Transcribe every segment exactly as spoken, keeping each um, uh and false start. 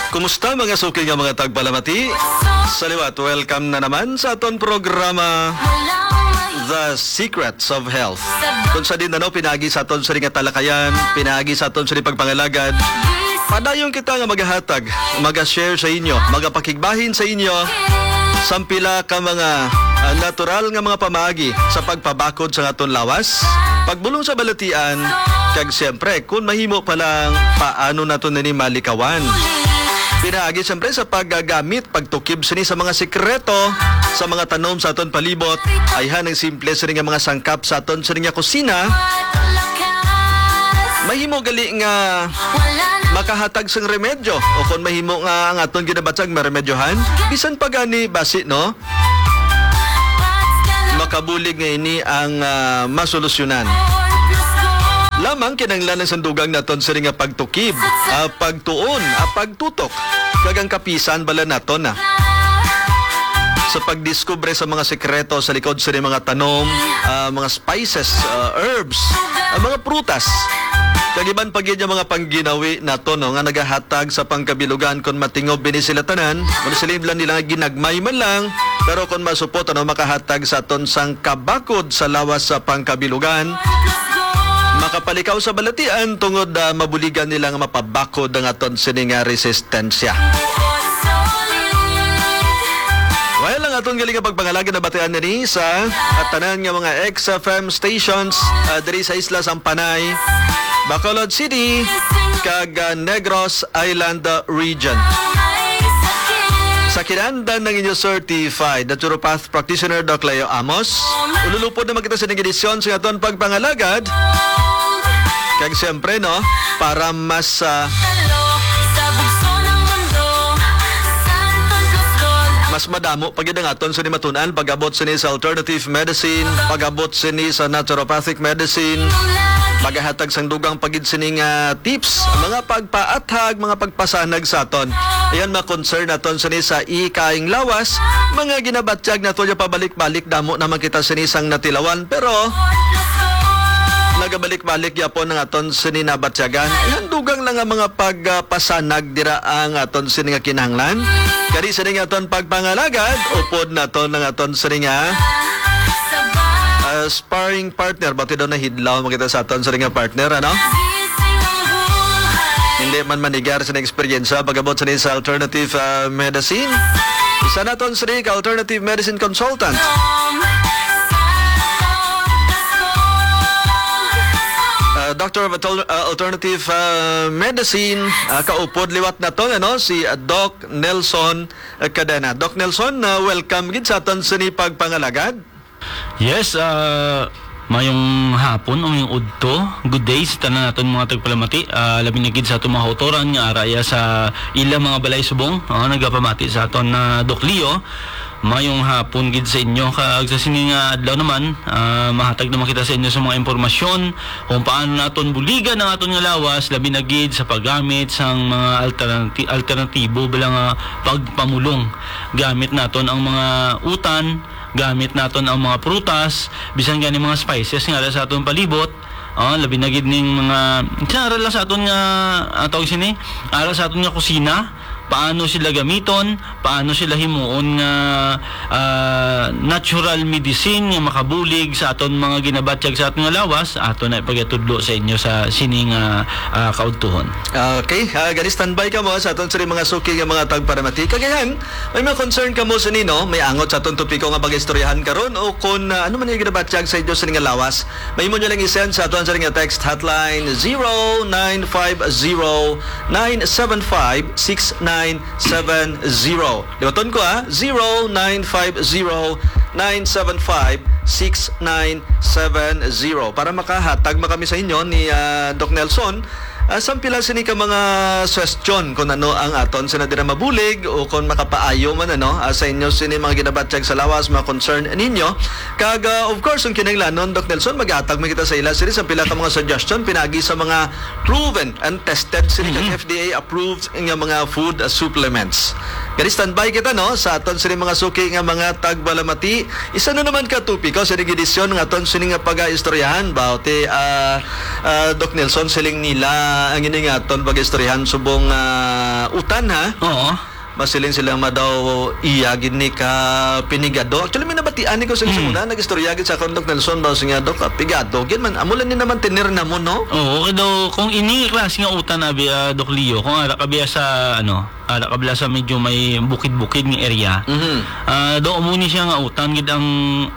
Kumusta, mga suki nga mga tagpalamati? Sa liwat, welcome na naman sa aton programa, The Secrets of Health. Kung sa din, ano, pinaagi sa aton sa nga talakayan, pinaagi sa aton sa pagpangalagad, padayon kita nga magahatag, maga-share sa inyo, magapakigbahin sa inyo, sang pila ka mga, ah, natural nga mga pamaagi sa pagpabakod sa aton lawas, pagbulong sa balatian, kag siyempre, kung mahimo pa lang, paano nato nini malikawan? Pinaagi siyempre sa paggamit, pagtukib sini sa mga sikreto sa mga tanom sa aton palibot. Ayhan ang simple sini nga mga sangkap sa aton sini nga kusina. Mahimo gali nga makahatag sang remedyo, o kon mahimo nga ang aton ginabatyag maremedyohan, bisan pa gani basi, no? Makabulig nga ini ang, ah, masolusyonan. Lamang kinahanglan ang sandugang naton sini nga pagtukib, ah, pagtuon, ah, pagtutok, kag ang kapisan bala naton na sa pagdiskubre sa mga sekreto sa likod sini mga tanom, ah, mga spices, ah, herbs, ah, mga prutas, kag iban pa gid nga mga pangginawi naton, no, nga nagahatag sa pangkabilugan. Kon matingob bini sila tanan, mao sila lang nila ginagmay man lang, pero kon masupot, ano, makahatag sa aton sang kabakod sa lawas sa pangkabilugan, makapalikaw sa balatian tungod, ah, mabuligan nila nga mapabakod ang aton sini nga resistensya. Well, ang aton gali nga pagpangalagad nabatian diri sa at tanan nga mga X F M stations, ah, diri sa isla sang Panay, Bacolod City, kag, ah, Negros Island, ah, Region. Sa kinahanglan ang inyo certified naturopath practitioner, Doc Leo Amos, ululupod naman kita sa ining edisyon sa aton pagpangalagad. Kag siyempre, no, para mas, ah, mas madamo pa gid ang aton sini matun-an pag-abot sini sa alternative medicine, pag-abot sini sa naturopathic medicine. Magahatag sang dugang pa gid sini nga tips, mga pagpaathag, mga pagpasanag sa aton. Ayan, mga concern naton sini sa ikaing lawas, mga ginabatyag nato nga pabalik-balik, damo naman kita sini sang natilawan, pero nagabalik-balik gyapon ang aton sini nabatyagan. Ayan, dugang lang ang mga pagpasanag dira ang aton sini nga kinahanglan. Kani sini nga aton pagpangalagad, upod naton ang aton sini nga, ah, sparring partner. Bati daw nahidlaw makita sa aton sini nga partner, ano? Hindi man manigar sa eksperyensya pag-abot sini sa alternative, ah, medicine. Isa naton sini ka alternative medicine consultant. Ah, Doctor of Atal-, ah, Alternative, ah, Medicine, ah, kaupod liwat naton, ano, si, ah, Doc Nelson, ah, Cadena. Doc Nelson, ah, welcome gid sa aton sini pagpangalagad. Yes, ah, mayong hapon o mayong udto. Good day sa tanan naton mga tagpalamati. Ah, labi na gid sa aton mga kautoran nga ara iya sa ila mga balay subong. Ah, nagapamati sa aton na Doc Leo. Mayong hapon gid sa inyo. Kag sa sini nga adlaw naman, ah, mahatag naman kita sa inyo sa mga impormasyon kung paano naton buligan ang aton nga lawas, labi na gid sa paggamit sang mga alternati-, alternatibo bala nga pagpamulong. Gamit naton ang mga utan, gamit naton ang mga prutas, bisan gani mga spices nga ara sa aton palibot. Ah, labi na gid ning mga, sa ara lang sa aton nga, ah, tawag sini, ara sa aton nga kusina, paano sila gamiton, paano sila himuon nga, ah, natural medicine nga makabulig sa aton mga ginabatyag sa aton nga lawas, ato na ipagatudlo sa inyo sa sini nga, ah, kaudtuhon. Okay, ah, gani standby kamo sa aton sini mga suki nga mga tagpalamati. Kag ayan, may mga concern kamo sini, no? May angot sa aton topiko nga pag-istoryahan karon, o kon, ah, ano man ang ginabatyag sa inyo sini nga lawas, mahimo nyo lang i-send sa aton sini nga text hotline, zero nine five zero, nine seven five, six nine seven zero. Liwaton ko, ah, zero nine five zero, nine seven five, six nine seven zero. Para makahatag man kami sa inyo ni, ah, Doc Nelson, ah, sang pila sini ka mga suhestyon kung ano ang aton sina dira mabulig o kung makapaayo man, ano, ah, sa inyo sini mga ginabatyag sa lawas, mga concern ninyo. Kag, ah, of course, kung kinahanglanon, Doc Nelson, maghatag man kita sa ila sini sang pila ka mga suggestion pinaagi sa mga proven and tested sini kag Mm-hmm. F D A approved nga mga food, ah, supplements. Gani standby kita, no, sa aton sini mga suki nga mga tagpalamati. Isa na naman ka topiko sa edisyon nga aton sini nga pag-aistoryahan, bawti, ah, ah, Doc Nelson, siling nila Ah, ang ini nga aton pag-istoryahan subong, ah, utan, ha? Oo. Masiling sila nga daw iya gid ni ka pinigado. Actually, may nabatian ni ko sa Mm. una, nag-istorya gid sa akon, Doc Nelson, ba, siya, "Doc, ah, pigado gid man. Amo lang ni naman tener na mo, no?" Oo, kay daw, kung ini klase nga utan, abi, ah, Doc Leo, kung ara ka biya sa, ano, ara ka biya sa medyo may bukid-bukid nga area, Mhm. ah, daw amo ni siya nga utan gid ang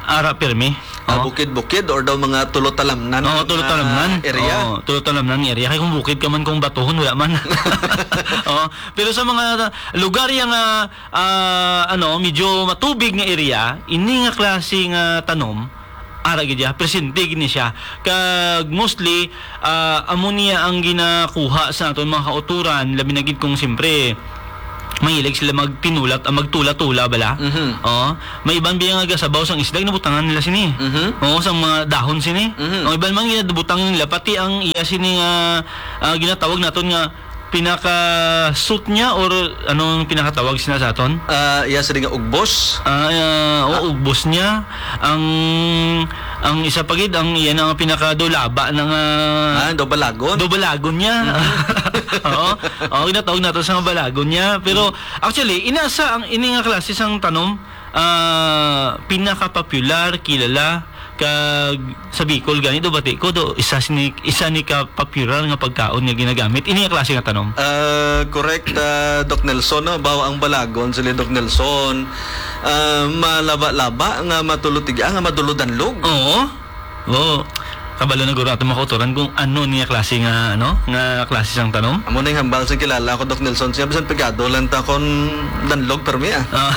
ara pirmi. Ah, Oh. bukid-bukid or daw mga tulo talamnan Oo, nga tulo talamnan. area? Oo, tulo talamnan nga area. Kay kung bukid ka man, kung batuhon, wala man. Oo. Pero sa mga lugar yang, ah, ah, ano, medyo matubig nga area, ini nga klase nga tanom, ara gid siya, presente gid ni siya. Kag mostly, ah, amo niya ang ginakuha sa aton mga kauturan, labi na gid kung siyempre, mahilig sila magtinulat, ah, magtula-tula bala. Mhm. Oo. May iban biya nga gasabaw sang isda, ginabutangan nila sini. Mhm. Oo, sang mga dahon sini. Mhm. Ang iban man ginabutang nila, pati ang iya sini nga, ah, ginatawag naton nga pinaka-suit niya, or anong pinakatawag sina sa aton? Ah, iya sini nga ugbos. Ah, ah, o, Ah. ugbos niya. Ang, ang isa pa gid, ang iya na nga pinakadulaba na nga Ah, daw balagon. daw balagon niya. Mhm. Oo. Oo, ginatawag nato sa nga balagon niya. Pero, Mhm. actually, inasa ang ini nga klase sang tanom, ah, pinaka-popular, kilala, kag sa Bicol gani do, bati ko do, isa sini, isa ni ka-popular nga pagkaon nga ginagamit ini nga klase nga tanom. Ah, correct, ah, Doc Nelson, no? Baw ang balagon, sila Doc Nelson, ah, malaba-laba nga matulutiga, nga madulod-danlog. Oo. Oo. Kabalo na guro ato mga kautoran kung ano niya klase nga, ano, nga klase sang tanom. Amo na yung hambal sa kilala ko, Doc Nelson. Siya, bisan pigado lang ta kon danlog, permi, ah. Ah.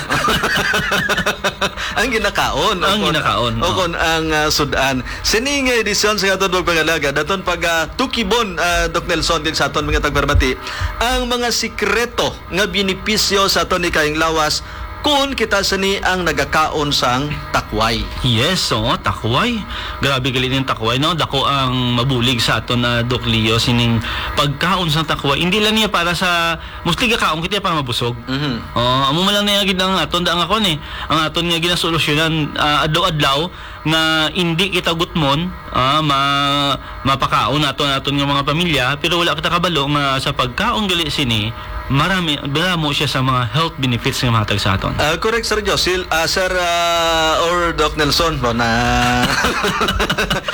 Ang ginakaon, Ang o kon, ginakaon, o oh. kon ang, ah, sudan. Sining edisyon sa aton pagpangalaga, daton pag, ah, tukibon, ah, Doc Nelson, din sa aton mga tagpamati, ang mga sikreto nga benepisyo sa aton ni kayong lawas, kun kita sini ang nagakaon sang takway. Yes, oo, takway. Grabe gali ning takway, no? Dako ang mabulig sa aton na, Doc Leo, sining pagkaon sang takway. Hindi lang niya para sa, mostly gakaon kita para mabusog. Mhm. Oh, amo man lang niya gid ang aton, da ang akon eh. Ang aton nga ginasolusyonan, ah, adlaw-adlaw, nga indi kita gutmon, ah, ma-, mapakaon nato, naton nga mga pamilya, pero wala kita kabalo nga sa pagkaon gali sini, marami, damo siya sa mga health benefits nga mahatag sa aton. Ah, correct, Sir Josil. Ah, Sir, ah, or Doc Nelson, ba na?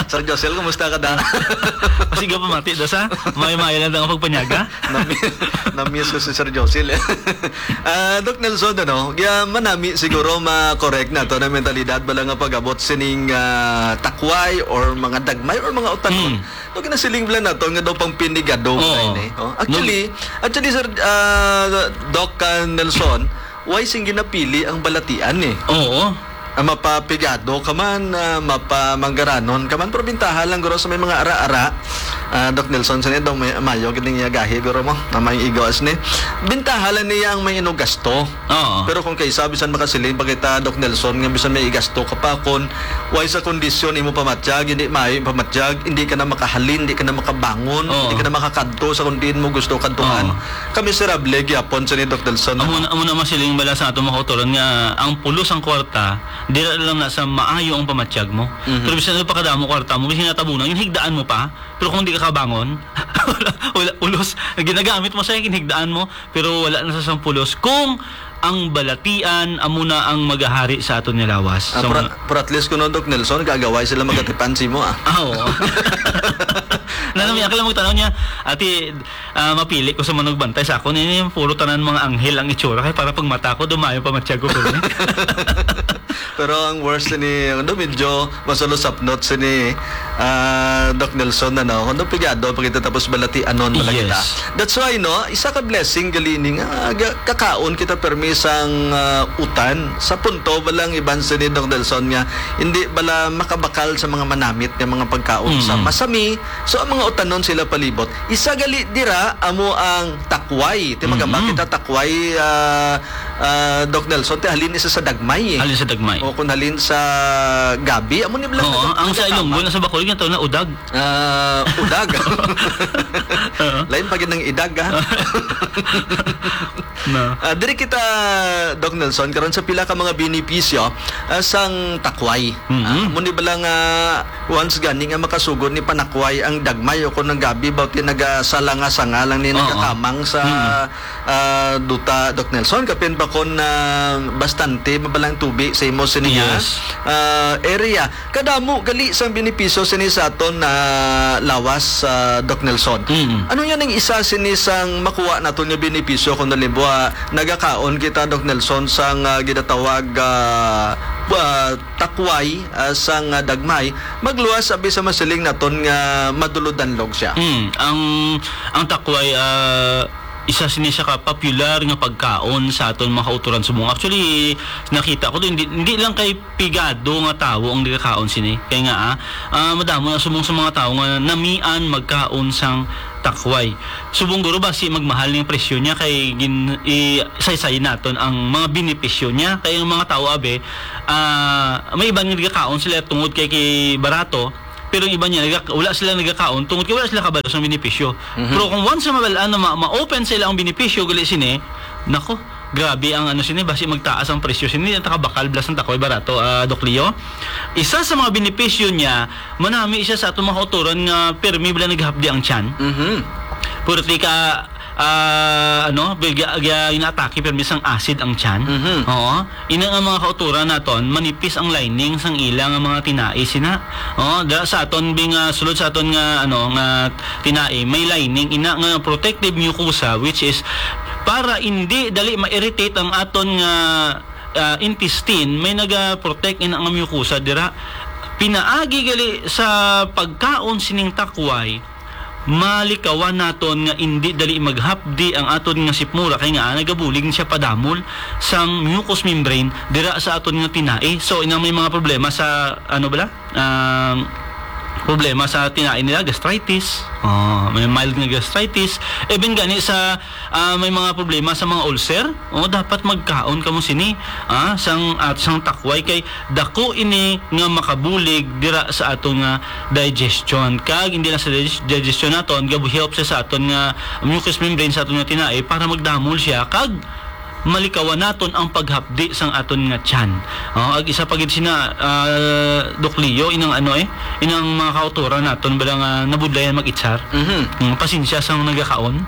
Sir Josil, kumusta ka da? Sige, pamati, da sa? May-may lang ang pagpanyaga? Nami-, namiss ko si Sir Josil, eh. Ah, Doc Nelson, ano, kaya manami siguro ma-correct nato na mentalidad bala nga pag-abot sining, ah, takway or mga dagmay or mga utanon. Hmm. No, ginasiling bala nato nga daw pang pinigado Oo. bala ini, oh. Actually, No. actually, Sir, ah, Doc, ah, Nelson, why sing ginapili ang balatian, eh? Oo. Ah, mapapigado ka man, ah, mapamanggaranon ka man, pero bintaha lang guro sa may mga ara-ara. Ah, Doc Nelson, sini daw may mayo gid ning iya gahi, guro mo, na may igo as ni. Bintaha lang niya ang may inugasto. Oo. Pero kung kay isa, bisan makasiling pa kita, Doc Nelson, nga bisan may igasto ka pa, kung way sa kondisyon imo pamatyag, hindi maayo yung pamatyag, hindi ka na makahalin, hindi ka na makabangon, Oo. hindi ka na makakadto sa kung diin mo gusto kadtuan. Oo. Ka miserable gyapon sa ni Doc Nelson, Amo ano? na, amo na masiling bala sa ato mga kautoran nga ang pulos ang kwarta, dira lang na sa maayo ang pamatyag mo. Mhm. Pero bisan ano pa kadamo kwarta mo, bisan natabunan, yung higdaan mo pa. Pero kung di ka kabangon, wala, wala pulos. Ginagamit mo sa higdaan mo, pero wala na sa sang pulos. Kung ang balatian, amo na ang magahari sa aton nga lawas. Ah, So, pero, nga pero at least kuno, Doc Nelson, gagaway sila magatipan si mo, ah. Ah, oo. Nanami, ako lang magtanaw niya, ati, ah, mapili ko sa manugbantay sa akon. Ini puro tanan mga anghel ang itsura. Kaya para pagmata ko, dumayo pa matsyag ko, pero Pero ang worst ni, ano, medyo masulusapnot sini, ah, Doc Nelson, ano, ano, pigado pa kita tapos balatianon pala kita. Yes. That's why, no, isa ka blessing gali ni nga, ga-, kakaon kita permi sang, ah, utan. Sa punto ba lang iban sini, Doc Nelson, nga hindi bala makabakal sa mga manamit nga mga pagkaon sa Mm. masami. So, ang mga utanon sila palibot. Isa gali dira, amo ang takway. Ti magamba Mm. kita takway, ah, ah, Doc Nelson, ti halin isa sa dagmay, eh. Halin sa dagmay. O kung halin sa gabi, amo ni bala Oo, takway ang sa nagkakama. Ilonggo, na sa Bacolod, nga tawag na udag. Ah, udag. Oo. Lain pa gid ng idag, ah. Na. Ah, diri kita, Doc Nelson, karon sa pila ka mga benepisyo, ah, sang takway. Mhm. Ah, amo ni bala nga once gani nga makasugod ni panakway ang dagmay o kung ang gabi ba ti nagasalanga-sanga lang ni Oo. nagakamang sa, Mhm. ah, duta, Doc Nelson, kapin pa kon, ah, bastante mabalang tubi sa imo sini nga, Yes. ah, area. Kadamo gali sang benepisyo sini sa aton, ah, lawas, ah, Doc Nelson. Mm. Ano yan ang isa sini sang makuha naton nga benepisyo kung halimbawa nagakaon kita, Doc Nelson, sang, ah, ginatawag, ah, ah, takway, ah, sang, ah, dagmay, magluwas abi sa masiling naton nga madulodanlog siya? Mm. Ang, ang takway, ah, isa sini siya ka popular nga pagkaon sa aton mga kauturan subong. Actually, nakita ko din, hindi, hindi lang kay pigado nga tawo ang nagakaon sini. Kay nga, ah, ah, madamo na subong sa mga tawo nga namian magkaon sang takway. Subong guro basi magmahal ning presyo niya kay gin-, i-, saysay naton ang mga benepisyo niya. Kay ang mga tawo, abi, ah, may iban nga nagakaon sila tungod kay, kay barato, pero ang iban niya, naga-, wala sila nagakaon tungod kay wala sila kabalo sa benepisyo. Mhm. Pero kung once na mabal-an na ma-, ma-open sa ila ang benepisyo, gali sini, nako, grabe ang ano sini, basi magtaas ang presyo sini, ang takabakal, blas ang takway barato, ah, Doc Leo. Isa sa mga benepisyo niya, manami siya sa atong mga kauturan nga pirmi bala naghapdi ang tiyan. Mhm. Purti ka, ah, ano, bigya, gya-, inaatake pirmi sang acid ang tiyan. Mhm. Oo. Ina nga mga kauturan naton, manipis ang lining sang ila nga mga tinai sina. Oo, da sa aton bing, ah, sulod sa aton nga, ano, nga tinai, may lining, ina nga protective mucosa, which is para indi dali ma-irritate ang aton nga, ah, intestine, may naga-protect ina nga mucosa dira. Pinaagi gali sa pagkaon sining takway, malikawan naton nga indi dali maghapdi ang aton nga sikmura, kay nga nagabulig siya padamol sang mucous membrane dira sa aton nga tinai. So, inang may mga problema sa, ano bala? Um, problema sa tinai nila, gastritis. Oh, may mild nga gastritis. Even gani sa, ah, may mga problema sa mga ulcer, oh, dapat magkaon kamo sini, ah, sang, at sang takway kay dako ini nga makabulig dira sa aton nga digestion. Kag hindi lang sa digest-, digestion naton, gabu-, help siya sa aton nga mucous membrane sa aton nga tinai para magdamol siya kag malikawan naton ang paghapdi sang aton nga tiyan. Oh, ag isa pa gid sina, ah, Doc Leo, inang ano eh, inang mga kauturan naton bala nga nabudlayan mag-itsar. Mhm. Mm, pasensya sa nagakaon.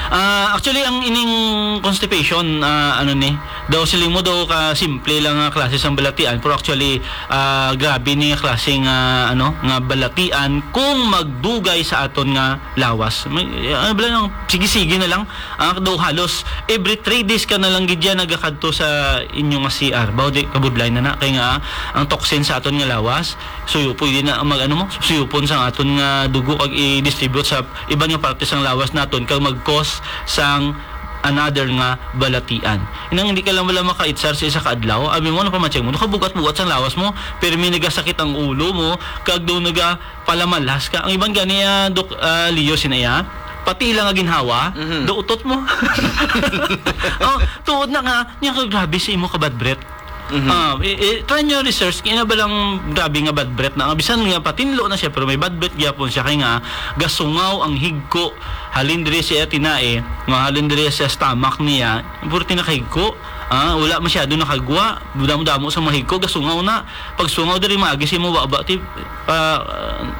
Ah, actually, ang ining constipation, ah, ano ni, daw siling mo daw ka simple lang nga klase sang balatian, pero actually, ah, grabe ni nga klase nga, ano, nga balatian kung magdugay sa aton nga lawas. May, ano bala nang sige-sige na lang, ah, daw halos every three days ka na lang gid yan nagakadto sa inyo nga C R. Bawo di kabudlay na na, kay nga, ah, ang toxin sa aton nga lawas, suyo pwede na mag, ano mo, suyupon sa aton nga dugo kag i-distribute sa iban nga parte sang lawas naton kag mag-cause sang another nga balatian. Inang hindi ka lang wala makaitsar sa isa ka adlaw, abi mo, ano pa man check mo, nakabugat-bugat sang lawas mo, pero may nagasakit ang ulo mo, kag daw nagapalamalas ka. Ang iban gani, ah, Doc, ah, Leo, sinaya, pati lang nga ginhawa, Mhm. daw utot mo. Oh, tuod na nga, niya ka grabe sa imo ka bad breath. Mhm. Ah, i-, i-, try nyo research, kaya na ba lang grabe nga bad breath na? Bisan nga patinlo na siya, pero may bad breath gyapon siya. Kay nga, gasungaw ang higko. Halin diri siya tinae, nga halin diri sa stomach niya, puro tinakahigko. Ah, wala masyado nakagwa. Damo-damo sa mga higko, gasungaw na. Pag sungaw diri, maagi si mo baba, ti, ah,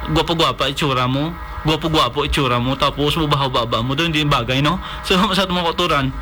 gwapo-gwapa itsura mo. Gwapo-gwapo itsura mo. Tapos, mubahaw baba mo. Doon, hindi bagay, no? So, sa mga kauturan,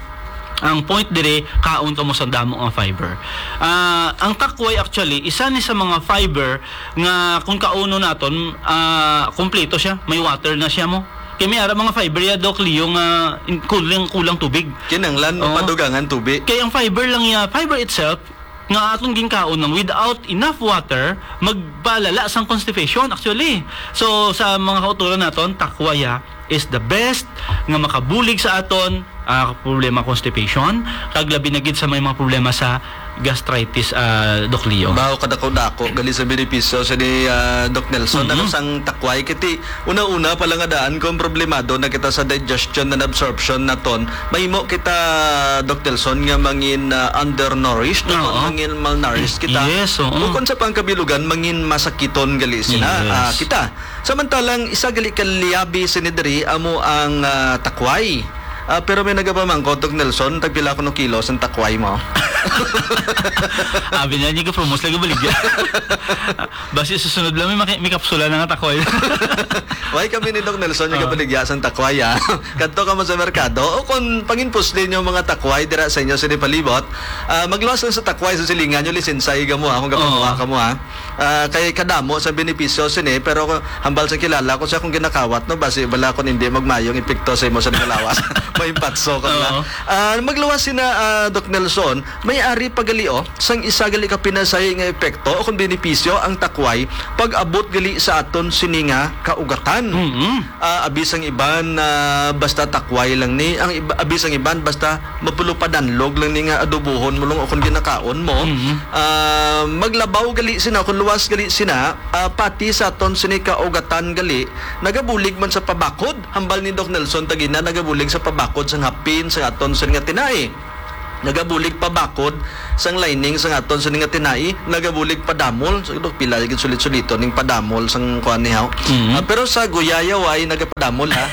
ang point dire, kaon kamo sa damo nga fiber. Ah, ang takway actually, isa ni sa mga fiber nga kung kauno naton, ah, kompleto siya, may water na siya mo. Kay may ara mga fiber ya, Doc Leo, nga in-, kulang, kulang tubig. Kinanglan Oo. mapadugangan tubi. Kay ang fiber lang ya, fiber itself, nga aton ginkaon lang without enough water, magpalala sang constipation actually. So, sa mga kauturan naton, takwaya is the best nga makabulig sa aton, ah, problema constipation, kag labi na gid sa may mga problema sa gastritis, ah, Doc Leo. Bawo kadako-dako gali sa benepisyo sa ni, ah, Doc Nelson, Mm-hmm. ano sang takway, kiti una-una pa lang nga daan kung problemado na kita sa digestion and absorption naton, mahimo kita, Doc Nelson, nga mangin, ah, undernourished, o Oo. mangin malnourished kita. Yes, oo. Bukod sa pangkabilugan, mangin masakiton gali sina, Yes. ah, kita. Samantalang isa gali ka liyabi sini diri amo ang, ah, takway. Ah, pero may nagapamangkot, Doc Nelson, tagpila kuno kilos ang takway mo? Abi niya, hindi ka promos, lagi baligya. Basi susunod lang, may maki-, may kapsula na nga takway. Why kami ni Doc Nelson yung Oo. kabaligya sang takway, ah? Kadto ka mo sa merkado, o kung panginpusli niyo mga takway dira sa inyo, sa palibot, ah, magluwas lang sa takway sa silingan niyo, lisensya, higa mo, ah, kung kapamuha Oo. ka mo, ah. Ah, kay kadamo sa benepisyo sini, pero hambal sa kilala ko sa akong ginakawat, no, basi bala kung hindi magmayong epekto sa imo sa nagalawas. May patso ka na. Oo. Ah, magluwas sina, ah, Doc Nelson, may ari pa gali, oh, sang isa gali ka pinasahi nga epekto o kung benepisyo ang takway pag-abot gali sa aton sini nga kaugatan. Mm-mm. Ah, abi sang iban, ah, basta takway lang ni, ang iba, abi sang iban basta mapulo pa danlog lang ni nga adobohon mo lang o kung ginakaon mo. Mhm. Ah, maglabaw gali sina, kung luwas gali sina, ah, pati sa aton sini kaugatan gali, nagabulig man sa pabakod. Hambal ni Doc Nelson Tagina, nagabulig sa pabakod sang hapin, sa aton sini nga tinai. Nagabulig pabakod sang lining sang aton sini nga tinai, nagabulig padamol. So, Doc, pila gid sulit-suliton ning padamol sang kuan ni, haw? Mhm. Ah, pero sa guyayaway, nagapadamol, ha?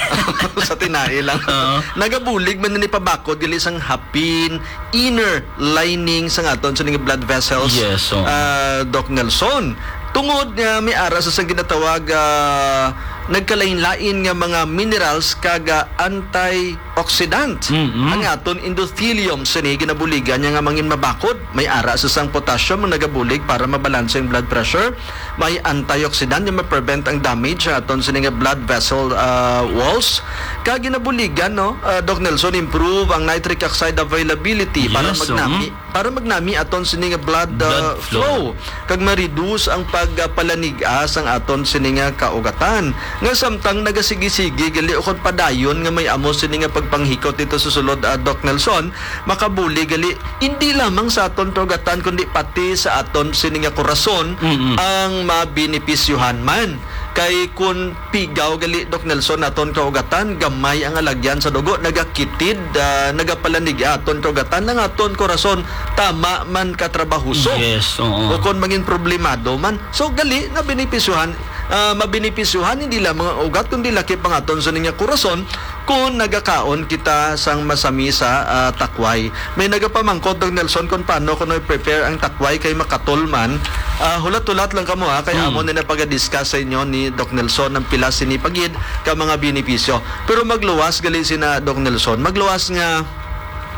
Sa tinai lang. Oo. Nagabulig man ni pabakod gali sang hapin, inner lining sang aton sini nga blood vessels, Yes, oo. ah, Doc Nelson. Tungod nga may ara sa sang ginatawag, ah, nagkalain-lain nga mga minerals kag, ah, antioxidant Mm-mm. ang aton endothelium, sini ginabuligan niya nga mangin mabakod. May ara sa sang potassium nga nagabulig para mabalanse ang blood pressure. May antioxidant nga ma-prevent ang damage sa aton sini nga blood vessel, ah, walls. Kag ginabuligan, no, ah, Doc Nelson, improve ang nitric oxide availability para Yes, magnami, mm. para magnami aton sini nga blood, Blood ah, flow. flow. Kag ma-reduce ang pagpalanig-a sang aton sini nga kaugatan. Nga samtang nagasigi-sige gali ukon padayon nga may amo sini nga pagpanghikot dito sa sulod, ah, Doc Nelson, makabuli gali hindi lamang sa aton kaugatan kundi pati sa aton sini nga korason Mm-mm. ang mabenepisyohan man. Kay kun pigaw gali, Doc Nelson, aton kaugatan, gamay ang alagyan sa dugo, nagakitid, ah, nagapalanig aton kaugatan, ang aton korason tama man katrabahuso. Yes, oo. O kon mangin problemado man. So, gali nga benepisyohan, ah, mabenepisyohan hindi lamang ang ugat, kundi lakip ang aton sini nga korason kung nagakaon kita sang masami sa, ah, takway. May nagapamangkot, Doc Nelson, kung paano kuno i-prepare ang takway kay makatol man. Ah, hulat-hulat lang kamo, ha, kay Hmm. amo na napagadiscuss sa inyo ni Doc Nelson ang pila sini pagid ka mga benepisyo. Pero magluwas gali sina Doc Nelson. Magluwas nga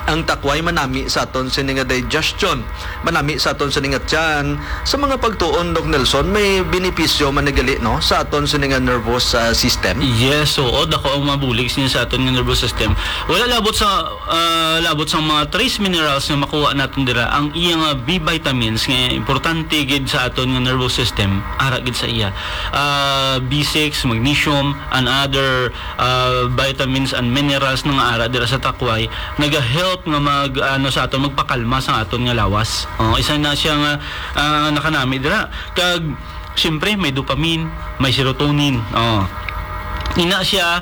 ang takway manami sa aton sini nga digestion, manami sa aton sini nga tiyan. Sa mga pagtuon, Doc Nelson, may benepisyo man ni gali, no, sa aton sini nga nervous, ah, system? Yes, oo, dako ang mabulig sini sa aton nga nervous system. Wala labot sa, ah, labot sa mga trace minerals nga makuha naton dira, ang iya nga B vitamins nga importante gid sa aton nga nervous system, ara gid sa iya. Ah, B six, magnesium, and other, ah, vitamins and minerals na nga ara dira sa takway, naga-help nga mag, ano, sa aton, magpakalma sa aton nga lawas. Oh, isa na siya nga, ah, nakanami dira. Kag, siyempre, may dopamine, may serotonin. Oh. Ina siya,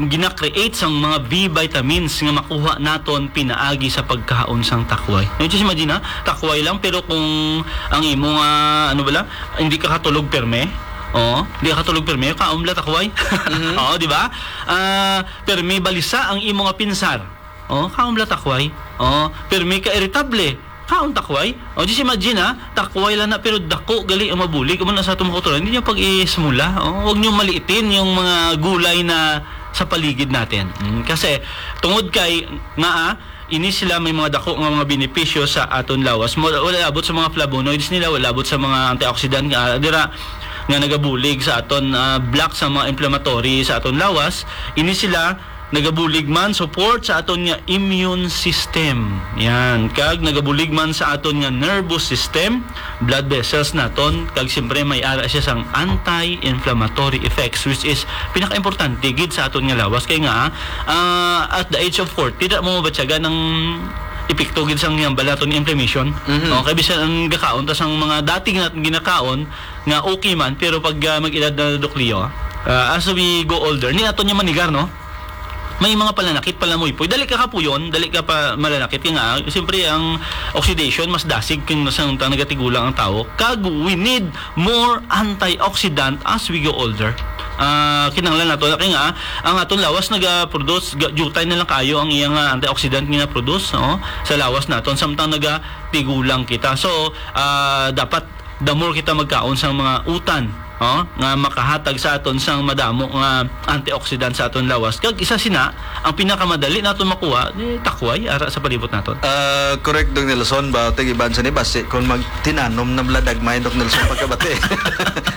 gina-create sang mga B vitamins nga makuha naton pinaagi sa pagkaon sang takway. Now, just imagine, ha? Takway lang, pero kung ang imo nga, ano bala, hindi ka katulog perme, oh, hindi ka katulog perme, kaon bala takway. Mhm. Oo, di ba? Ah, permi balisa ang imo nga pinsar. Oh, kaon bala takway. Oh, permi ka iritable. Kaon takway. Oh, just imagine, ha, takway lang na, pero dako gali ang mabulig. Amo na sa atong mga kultura, hindi niyo pag-ismula. Oh, huwag niyo maliitin yung mga gulay na sa paligid natin. Mm, kasi tungod kay nga, ah, ini sila may mga dako nga mga benepisyo sa aton lawas. Mo-, wala abot sa mga flavonoids nila, wala abot sa mga antioxidant nga, ah, dira nga nagabulig sa aton, ah, block sa mga inflammatory sa aton lawas. Ini sila nagabulig man support sa aton nga immune system. Yan. Kag nagabulig man sa aton nga nervous system, blood vessels naton, kag siyempre may ara siya sang anti-inflammatory effects, which is pinaka-importante gid sa aton nga lawas. Kay nga, ah, at the age of forty, da mo mabatyagan ang epekto gid sang hambal naton nga inflammation. Mhm. Oh, kay bisan ang gakaon ta sang mga dati nga ginakaon nga okay man, pero pag, ah, mag-edad na, Doc Leo, ah, as we go older, ni aton niya manigar, no? May mga palanakit, palamuypoy. Dali ka kapuyon, dali ka pa malanakit. Kaya nga, siyempre, ang oxidation, mas dasig kung sa, sa nagatigulang ang tao. Kag we need more antioxidant as we go older. Ah, kinahanglan nato, kaya nga, ang aton lawas naga-produce, ga-, jutay na lang kayo ang iyang, ah, antioxidant nga na-produce, no? Sa lawas naton, samtang nagatigulang kita. So, ah, dapat the more kita magkaon sang mga utan, oh, nga makahatag sa aton sang madamo nga antioxidant sa aton lawas. Kag isa sina, ang pinakamadali naton makuha, eh, takway, ara sa palibot naton. Ah, correct, Doc Nelson. Ba, tig iban sa ni basi, kung magtinanom na bala dagmay, Doc Nelson, pagkabati.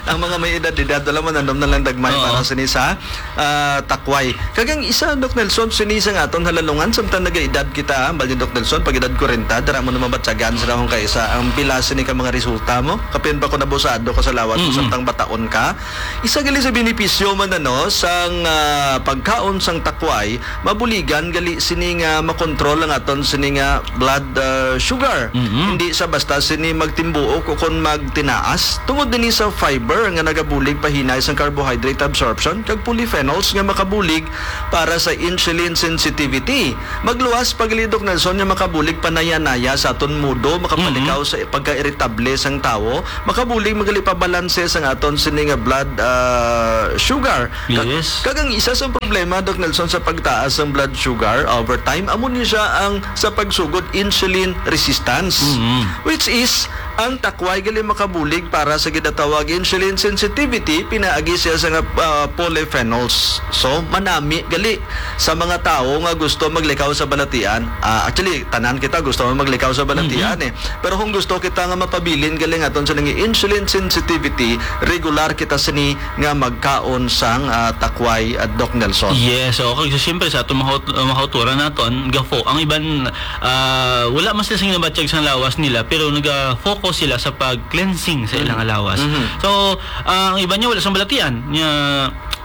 Ang mga may edad-edad, wala man, nanom na lang dagmay Oo. para sa ni sa, ah, takway. Kag ang isa, Doc Nelson, sini sa nga aton halalungan, samtang nagaedad kita, ah, bali, Doc Nelson, pag edad kwarenta, dara mo naman batyagan sa akong kaisa, ang pila sini ka mga resulta mo. Kapin pa ko nabusado ka sa lawas mo, Mm-mm. samtang bataon ka. Isa gali sa benepisyo man, ano, sang, ah, pagkaon sang takway, mabuligan gali sini nga makontrol ang aton sini nga blood, ah, sugar. Mm-mm. Hindi sa basta sini magtimbuok o kon magtinaas. Tungod dini sa fiber nga nagabulig pahinay sang carbohydrate absorption, kag polyphenols nga makabulig para sa insulin sensitivity. Magluwas pa gali, Doc Nelson, nga makabulig panaya-naya sa aton mudo, makapalikaw Mhm. sa pagka-iritable sang tawo, makabulig man gali pabalanse sang aton sini nga blood, ah, sugar. Ka-, Yes. kag ang isa sa problema, Doc Nelson, sa pagtaas sang blood sugar over time, amo ni siya ang sa pagsugod insulin resistance, Mhm. which is ang takway gali makabulig para sa ginatawag insulin sensitivity, pinaagi siya sa nga, ah, polyphenols. So, manami gali sa mga tawo nga gusto maglikaw sa balatian. Ah, actually, tanan kita gusto maglikaw sa balatian, Mhm. eh. Pero kung gusto kita nga mapabilin gali ang aton sini nga insulin sensitivity, regular kita sini nga magkaon sang, ah, takway, ah, Doc Nelson. Yes, okay. So, siyempre, sa atong mahut-, mahuturan naton, gafo. Ang iban, ah, wala man sila sing nabatyag sang lawas nila, pero naga-focus sila sa pag-cleansing sa Mhm. ilang lawas. Mhm. So, ah, ang iban niya wala sang balatian, niya,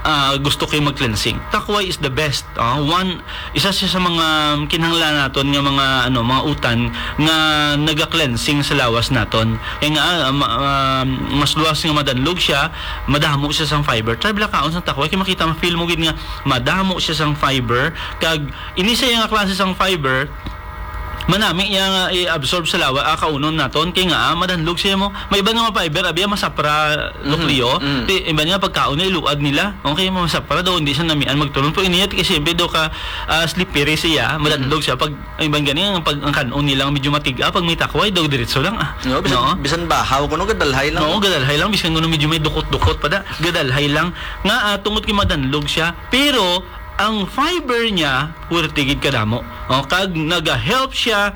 ah, gusto kay mag-cleansing. Takway is the best. Ah, one, isa siya sa mga kinahanglan naton nga mga, ano, mga utan nga naga-cleansing sa lawas naton. Kaya nga, ah, ma-, ah, mas luwas nga madanlog siya, madamo siya sang fiber. Try bala kaon sang takway, kay makita, ma-feel mo gid nga madamo siya sang fiber. Kag ini siya nga klase sang fiber, manami niya nga i-absorb sa lawas, ah, kaunon naton, kay nga, ah, madanlog siya mo. May iba nga mga fiber, abi, ah, masapra, Mhm. Doc Leo. Mhm. Ti, iba nga pagkaon na iluad nila. Okay, masapra daw, hindi siya namian magtulon. Pero ini, ti, kasi siyempre daw ka, ah, slippery siya, madandog Mhm. siya. Pag, ang iban gani, ang pag, ang kanon nila medyo matiga, pag may takway daw, diretso lang, ah. No, bisan, No? bisan bahaw, kuno gadalhay lang. No, gadalhay lang, bisan kuno medyo may dukot-dukot pa da, gadalhay lang. Nga, ah, tungod kay madanlog siya. Pero, ang fiber niya, pwerte gid kadamo. O, kag naga-help siya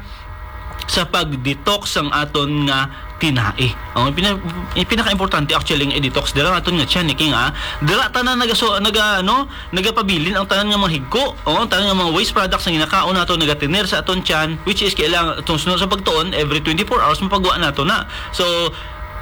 sa pag-detox sang aton nga tinai. O, pina-, yung pinaka-importante actually nga i-detox dira ang aton nga tiyan, eh, kay nga, dira tanan naga-, so, naga-, ano, nagapabilin ang tanan nga mga higko, o, ang tanan nga mga waste products nga ginakaon nato, nagatiner sa aton tiyan, which is kailangan, itong sunod sa pagtuon, every twenty-four hours, mapagwa nato na. So,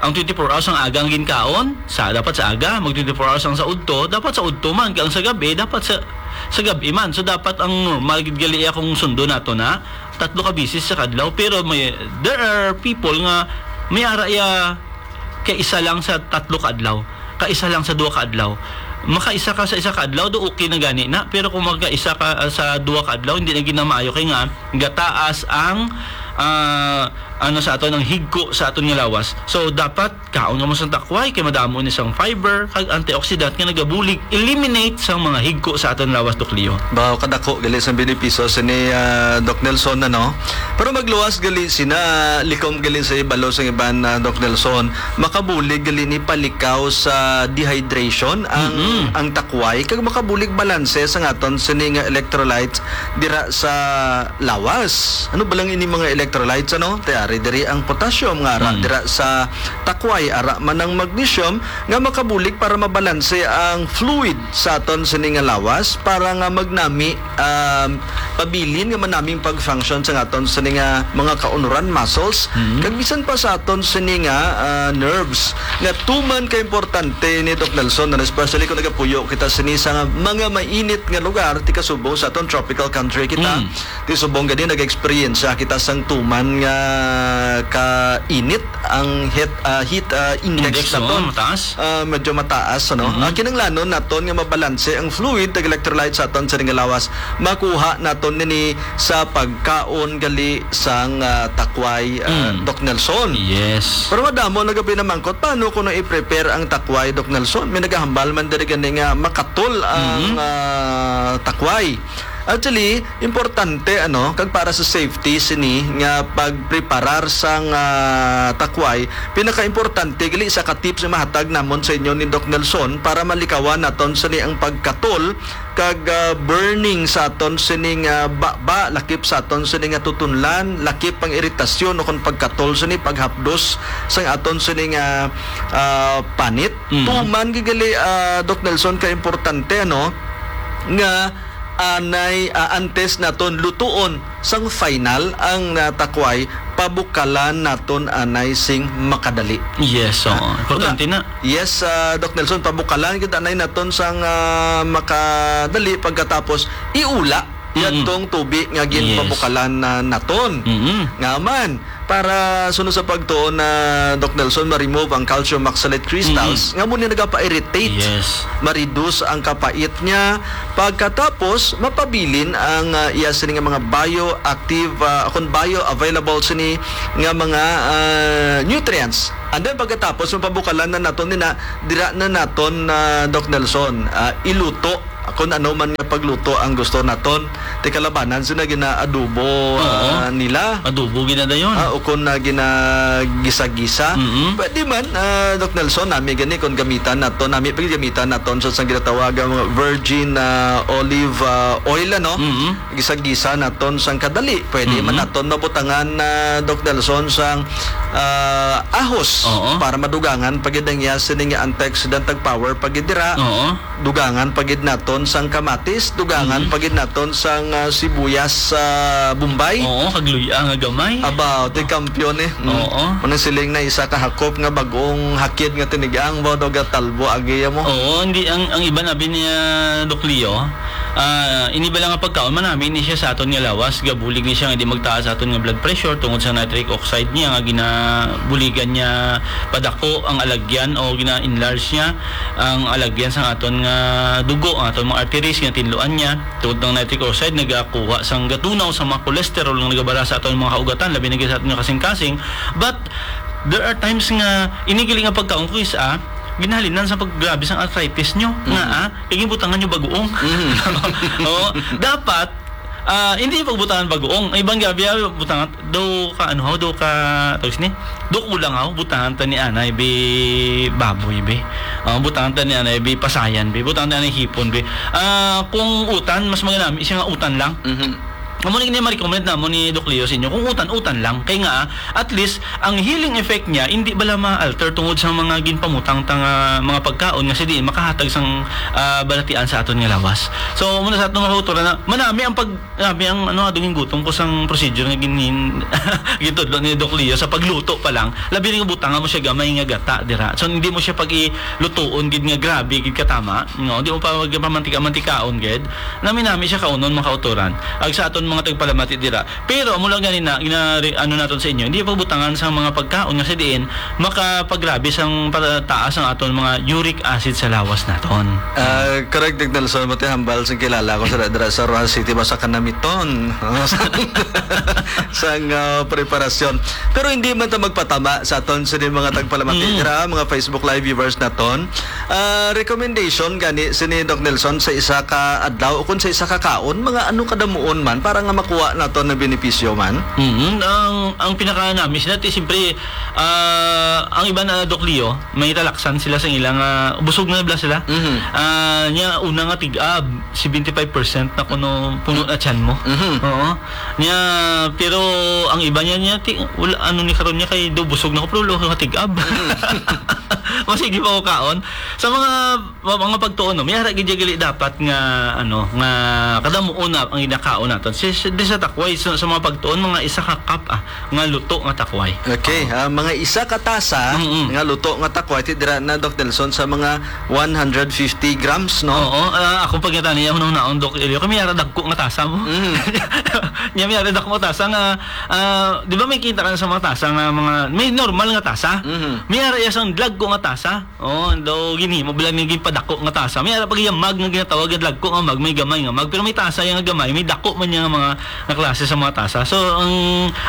ang twenty-four hours ang aga ang ginkaon, sa, dapat sa aga, mag twenty-four hours ang sa udto, dapat sa udto man, kay ang sa gabi, dapat sa, sa gabi man. So, dapat ang normal gid gali iya kung sundo nato na, tatlo ka bisis sa kadlaw. Pero may, there are people nga may ara iya kay isa lang sa tatlo ka adlaw, ka isa lang sa duha ka adlaw. Makaisa ka sa isa ka adlaw, do okay na gani na. Pero kung makaisa ka, ah, sa duha ka adlaw, hindi na gid na maayo kay nga gataas ang, ah, ano sa aton, ang higko sa aton nga lawas. So, dapat kaon ka mo sang takway kay madamo ni sang fiber kag antioxidant nga nagabulig, eliminate sang mga higko sa aton lawas, Doc Leo. Bawo kadako gali sang benepisyo sini, ah, Doc Nelson, ano? Pero magluwas gali sina, likom gali sa ibalo sang iban, ah, Doc Nelson, makabulig gali ni palikaw sa dehydration ang, Mm-mm. ang takway, kag makabulig balanse sa aton sini nga electrolytes dira sa lawas. Ano ba lang ini mga electrolytes, ano? Ti ari diri ang potassium nga ara Mm. dira sa takway, ara man ang magnesium nga makabulig para mabalanse ang fluid sa aton sini nga lawas para nga magnami, um, pabilin nga manaming pag-function sa aton sini nga mga kaunuran, muscles, Mm. kag bisan pa sa aton sini nga, ah, nerves nga tuman ka importante ni Doc Nelson, and especially kung nagapuyo kita sini sa mga mainit nga lugar, ti kasubong sa aton tropical country kita. Mm. Ti subong gani nag-experience kita sang human nga kainit ang heat, ah, heat, ah, index Index, naton. Oo, mataas. Ah, medyo mataas, ano? Mhm. Ah, kinahanglanon naton nga mabalanse ang fluid kag electrolyte sa aton sining nga lawas. Makuha naton nini sa pagkaon gali sang, ah, takway, ah, Mm. Doc Nelson. Yes. Pero madamo na gani namangkot, paano kuno i-prepare ang takway, Doc Nelson? May nagahambal man diri gani nga makatol ang, Mhm. ah, takway. Actually, importante, ano, kag para sa safety sini nga pagpreparar sang, ah, takway, pinakaimportante gali sa ka tips nga mahatag namon sa inyo ni Doc Nelson para malikawan naton sini ang pagkatol kag, ah, burning sa aton sini nga baba, lakip sa aton sini nga tutunlan, lakip ang iritasyon o kon pagkatol sini, paghapdos sang aton sini nga, ah, panit. Mhm. Tuman gid gali, ah, Doc Nelson, ka importante, ano, nga anay, ah, antes naton lutuon sang final ang, ah, takway, pabukalan naton anay sing makadali. Yes, oo. Ah, Importante una, na. Yes, ah, Doc Nelson, pabukalan gid anay naton sang, ah, makadali, pagkatapos iula Mm-mm. yadtong tubi nga Yes. ginpabukalan na naton. Mm-mm. Nga man, para sunod sa pagtuon na, Doc Nelson, ma-remove ang calcium oxalate crystals Mm-mm. nga mo ni nagapa-irritate. Yes. Ma-reduce ang kapait niya. Pagkatapos, mapabilin ang, ah, iya sini nga mga bioactive, ah, kon bioavailable sini nga mga, ah, nutrients. And then pagkatapos, mapabukalan na naton nina, dira na naton, ah, Doc Nelson, ah, iluto kung ano man nga pagluto ang gusto naton. Ti kalabanan sina ginaadobo, Oo. ah, nila. Adobo gid na dayon. Ah, o kung na ginagisa-gisa. Mm-mm. Pwede man, ah, Doc Nelson, nami gani kung gamitan naton, nami pa gid gamitan naton sa sang ginatawag ang virgin, ah, olive, ah, oil, ano? Mm-mm. Gisa-gisa naton sang kadali. Pwede man Mm-mm. naton mabutangan na, Doc Nelson, sang, ah, ahos Oo. para madugangan pa gid ang iya sini nga antioxidant, tag power pa gid dira. Oo. Dugangan pa gid naton sang kamatis, dugangan Mhm. pa gid naton sang, ah, sibuyas sa Bombay. Oo, kag luya nga gamay. Aba, ti kampiyon eh. Mm. Oo. Unang siling na isa ka hakop nga bagong hakid nga tinigang, ba, do gatalbo, agi mo. Oo, hindi, ang, ang iba nabi niya, Doc Leo, ah, ini bala nga pagkaon, manami ni siya sa aton nga lawas, gabulig ni siya nga di magtaas sa aton nga blood pressure tungod sa nitric oxide niya nga ginabuligan niya padako ang alagyan o gina-enlarge niya ang alagyan sang aton nga dugo, ang aton mga arteries, ginatinluan niya. Tungod ang nitric oxide, nagakuha sang gatunaw sa mga cholesterol nga nagabara sa aton mga kaugatan, labi na gid sa aton nga kasing-kasing. But there are times nga ini gali nga pagkaon ko is, ah, ginahalinan sa paggrabe sang arthritis nyo. Nga, Mhm. ah, kay ginbutangan nyo bagoong. Mhm. Oo. Dapat, ah, hindi pagbutangan bagoong. Ang ibang grabe, ah, butangan, do ka, ano, do ka, tawag sini? Do kulang ako, butangan ta ni anay, bi, baboy, bi. Ah, butangan ta ni anay, bi, pasayan, bi. Butangan ta ni hipon, bi. Ah, kung utan, mas maganami siya nga utan lang. Mhm. Amo ni, ni ma-recommend namo ni Doc Leo sa inyo. Kung utan, utan lang. Kay nga, at least, ang healing effect niya, hindi bala ma-alter tungod sa mga ginpamutang ta nga mga pagkaon nga sa diin makahatag sang, ah, balatian sa aton nga lawas. So, muna sa aton nga kultura na, manami ang pag, nami ang, ano, adungin gutom ko sang procedure nga ginin-, gintudlo ni Doc Leo sa pagluto pa lang. Labi na nga butangan mo siya gamay nga gata, dira. So, hindi mo siya pag-ilutuon gid nga grabe gid katama. No, di mo pa magpamantika-mantikaon gid. Nami-nami siya kaunon, mga kautoran. Ag sa aton mga tagpalamati dira. Pero amo lang gani na, gina-, ano naton sa inyo, hindi pagbutangan sa mga pagkaon nga sa diin makapagrabe sang pataas ang aton mga uric acid sa lawas naton. Ah, correct, Doc Nelson, mati hambal sing kilala ko sa dira sa Roxas City, basta kanamiton. Sang, ah, preparasyon. Pero hindi man ta magpatama sa aton sini mga tagpalamati Mm. dira, mga Facebook Live viewers naton. Ah, recommendation gani sini, Doc Nelson, sa isa ka adlaw o kung sa isa ka kaon, mga ano kadamuon man para nga makuha naton na benepisyo man? Mhm. Ang, ang pinaka-nami sila, ti, siyempre, ah, ang iba na, Doc Leo, may talaksan sila sa ilang, ah, busog na bala sila. Mhm. Ah, nya, una nga tig-ab, seventy-five percent na kuno puno na tiyan mo. Mhm. Oo. Nya, pero ang iba niya, niya, ti-, wala, ano ni karon niya, kay do busog na ko, pero wala ko katig-ab. Mhm. O, sige pa ko kaon. Sa mga, mga pagtuon, no, may ara gid gali dapat nga, ano, nga kadamuon na ang ginakaon naton. Si, si, di sa takway, sa, sa mga pagtuon, mga isa ka cup, ah, nga luto nga takway. Okay, Oo. ah, mga isa ka tasa Mm-mm. nga luto nga takway, ti dira na, Doc Nelson, sa mga one hundred fifty grams, no? Oo, ah, ako pag natani, ako nung naon, Doc Elio, kami ara dagko nga tasa mo. Mm. Nya may ara dako nga tasa nga, ah, di ba may kita ka sa mga tasa nga mga, may normal nga tasa? Mhm. May ara iya sang dagko nga tasa. Oh, daw ginhimo bala ni ginpadako nga tasa. May ara pag iya mug nga ginatawag nga dagko nga mug, may gamay nga mug. Pero may tasa iya nga gamay, may dako man niya nga mga nga klase sa mga tasa. So, ang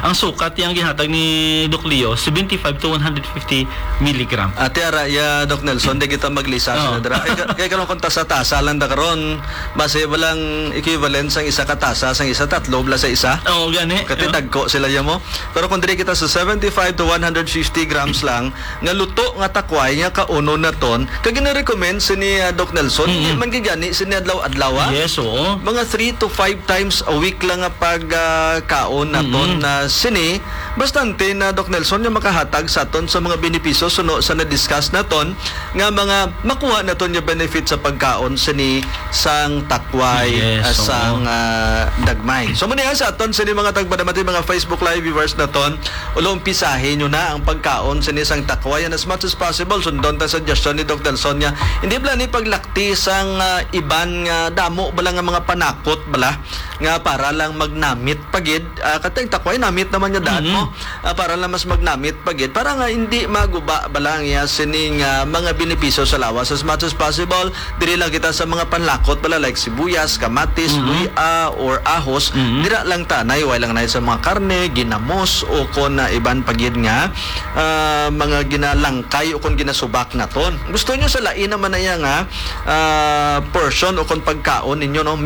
ang sukat iya nga ginhatag ni Doc Leo, seventy-five to one hundred fifty milligram. Ati ara iya, Doc Nelson, di kita maglisa Oo. sa dira. Kay ka- kay karon kung tasa-tasa lang da karon, basi walang equivalent sang isa ka tasa, sang isa tatlo, bala sa isa. Oo, gani. Kati Oo. dagko sila iya mo. Pero kung diri kita sa seventy-five to one hundred fifty grams lang, nga luto nga takway nga kaunon naton, kag gina-recommend sini, ah, Doc Nelson, Mm-mm. di man gid gani sini adlaw-adlaw, ah. Yes, oo. Mga three to five times a week lang nga pag, ah, kaon naton Mm-mm. na sini, bastante na, Doc Nelson, nga makahatag sa aton sa mga benepisyo suno sa na-discuss naton nga mga makuha naton nga benefit sa pagkaon sini sang takway, Yes, ah, oo. sang, ah, dagmay. So, muna yan sa aton sini mga tagpadamati, mga Facebook Live viewers naton, ulo umpisahin nyo na ang pagkaon sini sang takway. And as much as possible, sundon ta suggestion ni Doc Nelson nga, hindi pala ni paglakti sang, ah, iban nga damo bala nga mga panakot bala nga para lang magnamit pa gid. Ah, katay takway, namit naman nga daan Mhm. mo. Ah, para lang mas magnamit pa gid. Para nga hindi maguba bala ang iya sining, ah, mga benepisyo sa lawas. As much as possible, diri lang kita sa mga panlakot bala, like sibuyas, kamatis, Mhm. luya, or ahos. Mhm. Dira lang tanay, way lang na sa mga karne, ginamos, o kon, ah, iban pa gid nga, ah, mga ginalangkay o kon ginasubak naton. Gusto nyo sa lain naman na iya nga, ah, portion o kon pagkaon ninyo, no?